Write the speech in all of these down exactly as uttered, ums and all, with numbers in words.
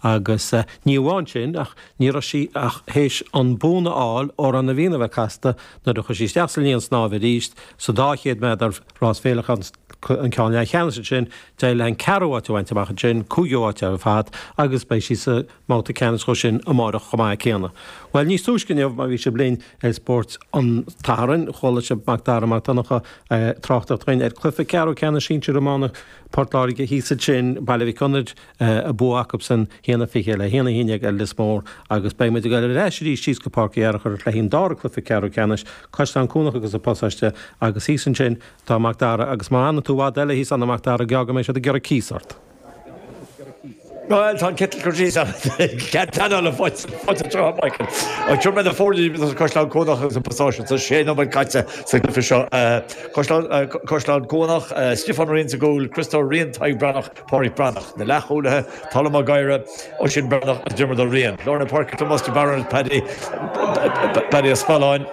Agus ní amháin sin, ach ní raibh sí ach théis an bonn a fháil Amhrán na bhFiann a bheith casta nuair a chuaigh sí isteach sa líon snámha arís sa dá chéad méadar rás féileacáin an ceann leathcheannais ansin, d'éirigh léi an ceathrú háit a bhaint amach ansin, cúigiú háit ar fad, agus beidh sí sa mbabhta ceannais dhó sin amárach chomh maith céanna. Bhuel, níos túisce inniu, má bhí sibh linn ar Spórt an tSathairn, chuala sibh Mac Dara Mac Donncha ag tráchtaireacht dúinn ar chluiche ceathrú ceannais sinsir iomána Port Láirge thíos ansin, Baile Mhic Gonair, a bua acusan haon a fiche le haon a haon déag ar Lios Mór agus beidh muid ag dul ar ais arís síos go Páirc Uí Fhearchair le haghaidh an dara cluiche ceathrú ceannais, Caisleán Cuanach agus an Pasáiste agus thíos ansin tá Mac Dara agus má fhanann tú i bhfad eile thíos ann a Mhac Dara geall go mbeidh siad ag iarraidh cíos ort. Bhuel, tá an citeal curtha síos agam. Cead pleanála faighte anseo, Michael. Ach sure mé na foirne idir Caisleán Cuanach agus an Pasáiste. Tá sé nóiméad caite sa gcluiche seo. Caisleán, Caisleán Cuanach, Stiofán Ó Riain sa gcúl, Criostóir Ó Riain, Tadhg Breathnach, Pádraig Breathnach. Na leathchúlaithe, Colm Mac Gadhra, Oisín Breathnach agus Diarmuid Ó Riain. Lár na páirce, Tomás de Barún agus Paddy, Paddy Ó Spealáin.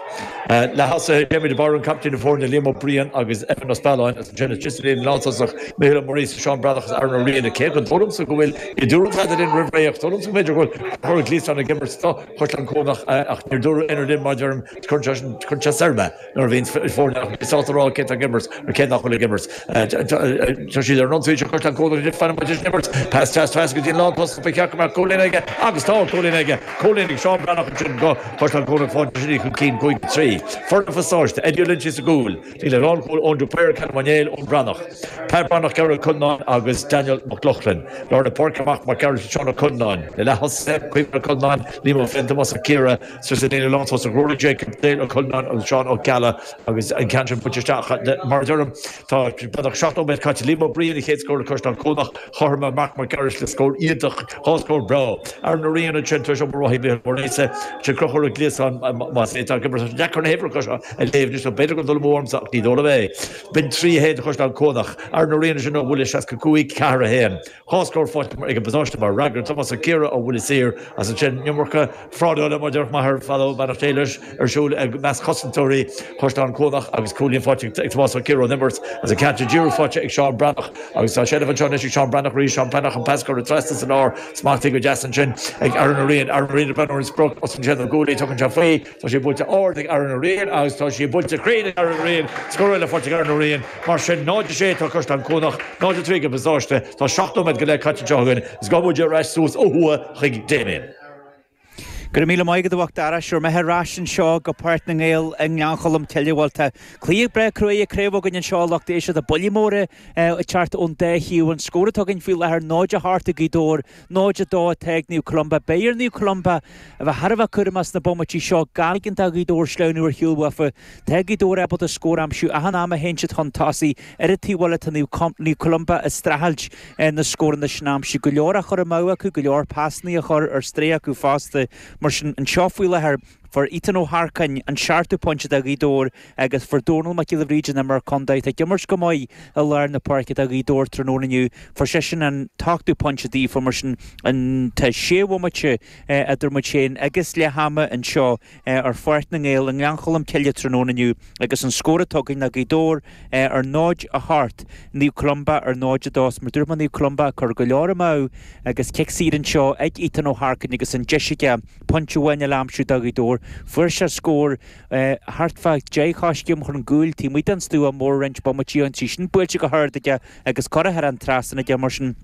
Leath-thosaithe, Jamie de Barún, captaen na foirne, Liam Ó Briain agus Evan Ó Spealáin agus ansin istigh sa líne lántosach, Micheál Ó Muiríosa, Seán Breathnach agus Aaron Ó Riain. Cé go dóigh liomsa go bhfuil ní dúradh tada linn roimh ré ach dóigh liomsa go mb'fhéidir go bhfuil Conchúr Ó Gliasáin ag imirt do Chaisleán Cuanach ach níor dúradh aon rud linn mar a deirim, cuireann sé sin, cuireann sé soir mé nuair a bhíonn foirne nach mbíonn sásta rá cé atá ag imirt nó cé nach bhfuil ag imirt. Tá siad ar an ionsaí seo Caisleán Cuanach anois fanann muid leis an imirt. Pas deas trasna go dtí an lántosach ba cheart go mbeadh cúilín aige agus tá cúilín aige. Cúilín ag Seán Breathnach ansin do Chaisleán Cuanach fágann sin iad chun cinn cúig a trí. Foireann an Phasáiste, Eddie Ó Loinsigh sa gcúl. Ar lánchúl Eoin de Paor, Callum Ó Néill, Eoin Breathnach, Pat Breathnach, Gearóid Ó Conláin agus Daniel Mac Lochlainn. Lár na páirce amach Mac Gearailt Seán Ó Conláin. Na leath-thosaithe, Caoimhín Ó Conláin, Liam Ó Floinn, Tomás Ó Ciardha, suas sa líne lántosach Rory Jacob, Dale Ó Conláin agus Seán Ó Ceallaigh agus an ceann sin buailte isteach. Mar a deirim, tá beagnach seacht nóiméad caite. Liam Ó Briain an chéad scór do Chaisleán Cuanach. Chothromaigh Marc Mac Gearailt le scór iontach, dhá scór breá. Aaron Ó Riain ansin tar éis obair mhaith ag Micheál Ó Muiríosa. Sin Conchúr Ó Gliasáin más é atá ag imirt. Tá sé deacair na huimhreacha seo a léamh anois nó b'fhéidir gur dul amú ormsa ach ní dóigh liom é. B'in trí a haon do Chaisleán Cuanach. Aaron Ó Riain ansin ó bhuille seasca cúig, ceathair a haon. Dhá scór faighte ag an bPasáiste mar fhreagra. Tomás Ó Ciardha ó bhuille saor agus ansin an iomarca frádála mar a déarfadh m'athair fadó, beannacht Dé leis, ar siúl i measc chosantóirí Chaisleán Cuanach agus cúilín faighte ag Tomás Ó Ciardha ón imirt agus an ceann sin díreach faighte ag Seán Breathnach agus tá seilbh anseo anois ag Seán Breathnach arís, Seán Breathnach an pas curtha trasna san lár, smachtaithe go deas ansin ag Aaron Ó Riain, Aaron Ó Riain ag breathnú ar an sprioc, osclaíonn sé na guaillí, tugann sé faoi, tá sé buailte ard ag Aaron Ó Riain agus tá sé buailte cruinn ag Aaron Ó Riain, scór eile faighte ag Aaron Ó Riain. Mar sin, náid a sé atá Caisleán Cuanach, náid a trí ag an bPasáiste. Tá seacht nóiméad go leith caite anseo againn is gabhfaidh muid ar ais suas ó thuaidh chuig Damien. Go raibh míle maith agat a Mhac Dara. Sure, imithe ar ais anseo go Páirc na nGael i nGleann Cholm Cille. Bhuel, tá cluiche breá cruaidh craobh againn anseo a lucht éisteachta. Buillí móra ag teacht ón dá thaobh. An scór atá againn faoi láthair, náid a hocht ag Gaoth Dobhair, náid a dó atá ag Naomh Columba. Beidh ar Naomh Columba a bheith thar a bheith cúramach sna bomaití seo gan ligean do Ghaoth Dobhair sleamhnú ar shiúl uafa. Tá Gaoth Dobhair ábalta scór a aimsiú achan am a théann siad chun tosaigh. Ar an taobh eile tá Naomh Columba ag streachailt na scóranna sin a aimsiú. Go leor á chur amú acu, go leor pasanna á chur ar strae acu fosta. Mar sin, anseo faoi láthair, fuair Ethan Ó hEarcáin an seachtú pointe do Ghaoth Dobhair agus fuair Dónal Mac Giolla Bhríde an imreoir contae atá ag imirt go maith i lár na páirce do Ghaoth Dobhair tráthnóna inniu, fuair seisean an t-ochtú pointe daofa. Mar sin, tá sé bhomaite idir muid féin agus leath ama anseo ar Pháirc na nGael i nGleann Cholm Cille tráthnóna inniu agus an scór atá againn ná Gaoth Dobhair ar náid a hocht, Naomh Columba ar náid a dó. Mar dúirt mé Naomh Columba ag cur go leor amú agus cic saor anseo ag Ethan Ó hEarcáin agus an deis aige pointe amháin eile a aimsiú do Ghaoth Dobhair. Fuair sé scór thart fá deich choiscéim chun an gcúil taobh amuigh den stua mór roinnt bomaití ó shin, í sin buailte go hard aige agus curtha thar an trasnán aige mar sin.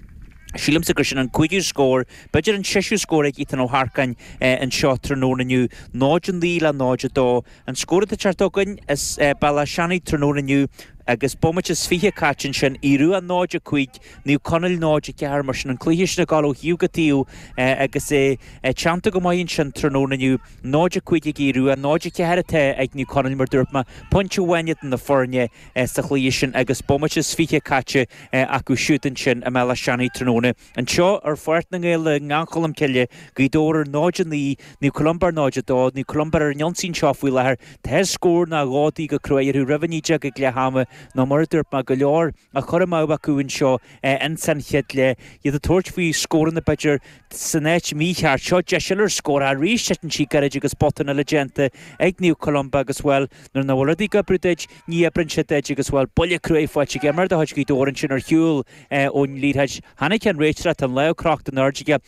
Sílimse gur sin an cúigiú scór, b'fhéidir an seisiú scór ag Ethan Ó hEarcáin anseo tráthnóna inniu. náid a naoi le náid a dó. An scór atá ag teacht chugainn as Béal Átha Seanaidh tráthnóna inniu agus bomaite is fiche caite ansin, Aodh Rua náid a cúig, Naomh Conaill náid a ceathair. Mar sin an cluiche sin ag dul ó thaobh go taobh agus é teannta go maith ansin tráthnóna inniu. náid a cúig ag Aodh Rua, náid a ceathair atá ag Naomh Conaill mar dúirt mé, pointe amháin idir na foirne sa chluiche sin agus bomaite is fiche caite acu siúd ansin i mBéal Átha Seanaidh tráthnóna. Anseo ar Pháirc na nGael i nGleann Cholm Cille, Gaoth Dobhair ar náid a naoi, Naomh Columba ar náid a dó, Naomh Columba ar an ionsaí anseo faoi láthair. Tá scór nó dhó de dhíth go cruaidh orthu roimh a naoi déag ag leath ama nó mar a dúirt mé, go leor á chur amú acu anseo ins an chéad leath, iad ag tabhairt faoi scóranna b'fhéidir san áit mhícheart. Seo deis eile ar scór arís, titeann sí gairid agus botún eile déanta ag Naomh Columba agus, bhuel, nuair nach bhfuil rudaí ag oibriú duit, ní oibreann siad duit agus, bhuel, buille cruaidh faighte ag imreoir de chuid Ghaoth Dobhair ansin ar shiúl ón liathróid. Chonaic an réiteoir, tá an lámh crochta in airde aige.